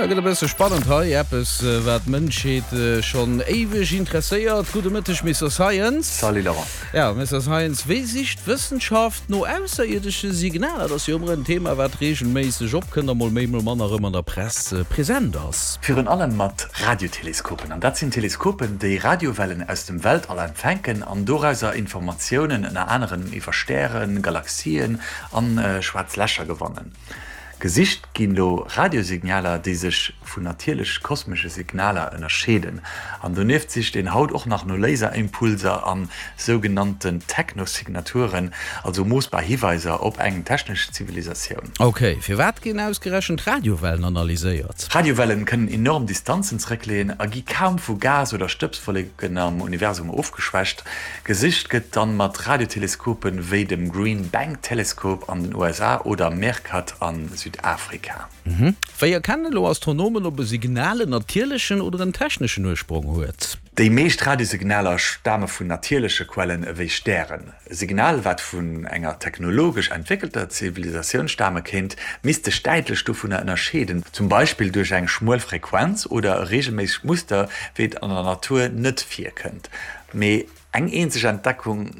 gëtt e bësse spannend hei. Eppes, wat d'Mënschheet schonn éiweg interesséiert. Gudde Mëtteg, Mister Science. Salut Laurent. Ja, Mister Science, wéi sicht d'Wëssenschaft no ausserierdesche Signaler? Dat ass jo ëmmer en Thema, wat reegelméisseg opkënnt a mol méi, mol manner erëm an der Press present ass. Virun allem mat Radioteleskopen. An dat sinn Teleskopen, déi Radiowellen aus dem Weltall empfänken an dorauser Informatiounen ënner anerem iwwer Stären, Galaxien an schwaarz Lächer gewannen. Gesicht ginn do Radiosignaler, déi sech vun natierlech kosmesche Signaler ënnerscheeden. An donieft sicht een haut och nach no Laserimpulser a sougenannten Technosignaturen, also moossbar Hiweiser op eng technesch Zivilisatioun. Ok, firwat ginn ausgerechent Radiowellen analyséiert? Radiowellen kënnen enorm Distanzen zeréckleeën a gi kaum vu Gas oder Stëbswolleken am Universum ofgeschwächt. Gesicht gëtt dann mat Radioteleskopen wéi dem Green Bank Telescope an den USA oder Meerkat a Südafrika. Wéi erkennen elo Astronomen, ob e Signal en natierlechen oder en techneschen Ursprong huet? Déi meescht Radiosignaler stame vun natierleche Quellen ewéi Stären. E Signal, wat vun enger technologesch entwéckelter Zivilisatioun stame kéint, misst sech däitlech dovunner ënnerscheeden, zum Beispill duerch eng schmuel Frequenz oder e reegelméissegt Muster, wéi et an der Natur net virkënnt. Mee eng eenzeg Entdeckung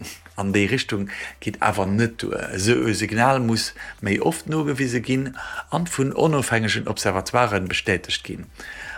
an déi Richtung geet awer net duer. Esou e Signal muss méi oft nogewise ginn an vun onofhängegen Observatoiren bestätegt ginn.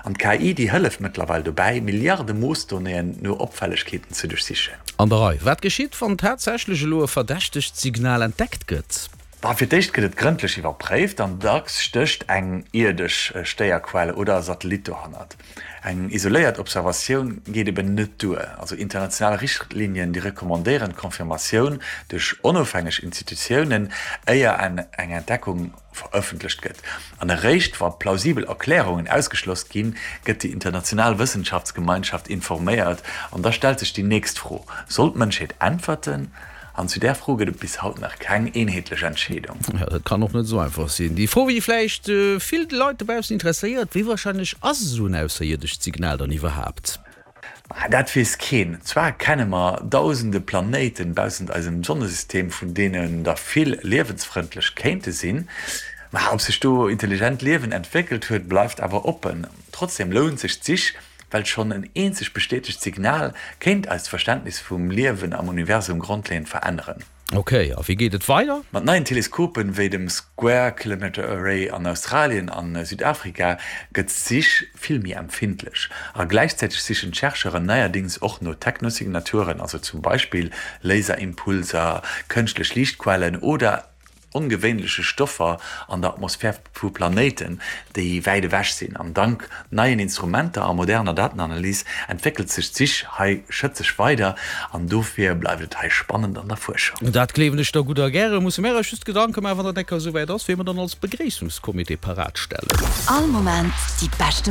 An d'KI, déi hëlleft mëttlerweil dobäi, Milliarde Moossdonnéeën no Opfällegkeeten ze duerchsichen. An der Rei. Wat geschitt, wann tatsächlech elo e verdächtegt Signal entdeckt gëtt? Bah, fir d'éischt gëtt et grëndlech iwwerpréift an dacks stécht eng ierdesch Stéierquell oder e Satellit dohannert. Eng isoléiert Observatioun geet eben net duer. Also international Richtlinien, déi recommandéieren d'Confirmatioun duerch onofhängeg Institutiounen, éier eng Entdeckung verëffentlecht gëtt. An eréischt wa plausibel Erklärungen ausgeschloss ginn, gëtt déi international Wëssenschaftsgemeinschaft informéiert. An da stellt sech déi nächst Fro, Soll d'Mënschheet äntwerten? An zu där Fro gëtt et bis haut nach keng eenheetlech Entscheedung. Jo, dat kann och net esou einfach sinn. Déi Fro, déi vläicht vill Leit dobaussen interesséiert, Wéi warscheinlech ass esou en ausserierdescht Signal dann iwwerhaapt? Ma dat weess keen. Zwar kenne mer dausende Planéiten baussent eisem Sonnesystem, vun deenen der vill liewensfrëndlech kéinte sinn. Ma ob sech do intelligent Liewen entwéckelt huet, bleift awer oppen. Trotzdeem lount sech d'Sich, Well schonn en eenzegt bestätegt Signal kéint eist Verständnis vum Liewen am Universum grondleeënd veränneren. Ok, a wéi geet et weider? Mat neien Teleskopen, wéi dem Square Kilometre Array an Australien an Südafrika, gëtt d'Sich vill méi empfindlech. A gläichzäiteg sichen d'Chercheuren neierdéngs och no Technosignaturen, also zum Beispill Laserimpulser, kënschtlech Liichtquellen oder ongewéinleche Stoffer an der Atmosphär vu Planéiten, déi wäit ewech sinn. An dank neien Instrumenter a moderner Datenanalys entwéckelt sech d'Sich hei schëtzeg weider an dofir bleift et hei spannend an der Fuerschung. Dat gleewen ech der gutt a gäre. Musse mär eis just Gedanke maachen, wann dat eng Kéier esouwäit ass, wee mer dann als Begréissungscomité parat stellen. All Moment déi beschten.